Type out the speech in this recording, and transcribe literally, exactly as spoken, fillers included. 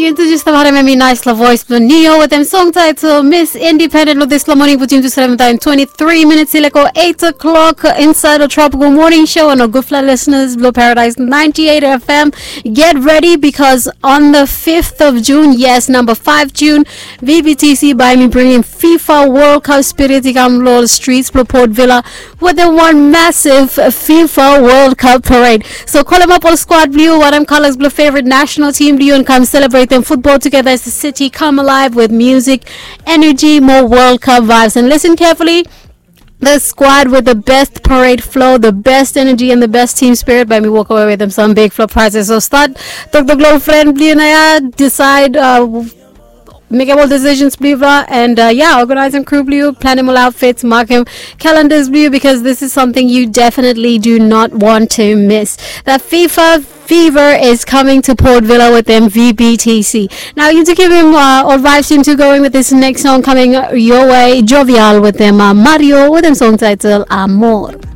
Introduce the Harem Emi nice la voice blue Neo with them song title Miss Independent with this morning put into seven time twenty-three minutes ileko eight o'clock inside the Tropical Morning Show and our good fly listeners Blue Paradise ninety-eight F M. Get ready because on the fifth of June, yes, number five June, V B T C by me bringing FIFA World Cup spirit ikam lo streets blue Port Vila with the one massive FIFA World Cup parade. So call them up all squad blue, what I'm colors blue favorite national team blue and come celebrate them football together as the city come alive with music, energy, more World Cup vibes. And listen carefully. The squad with the best parade flow, the best energy, and the best team spirit. By me walk away with them some big flow prizes. So start talk the global friend blue and I decide uh, make all decisions blue and uh, yeah, organize and crew blue, plan them all outfits, mark them calendars blue because this is something you definitely do not want to miss. That FIFA fever is coming to Port Vila with M V B T C. Now you to keep him uh, or vibes him to going with this next song coming your way, Jovial with them uh, Mario with them song title Amor.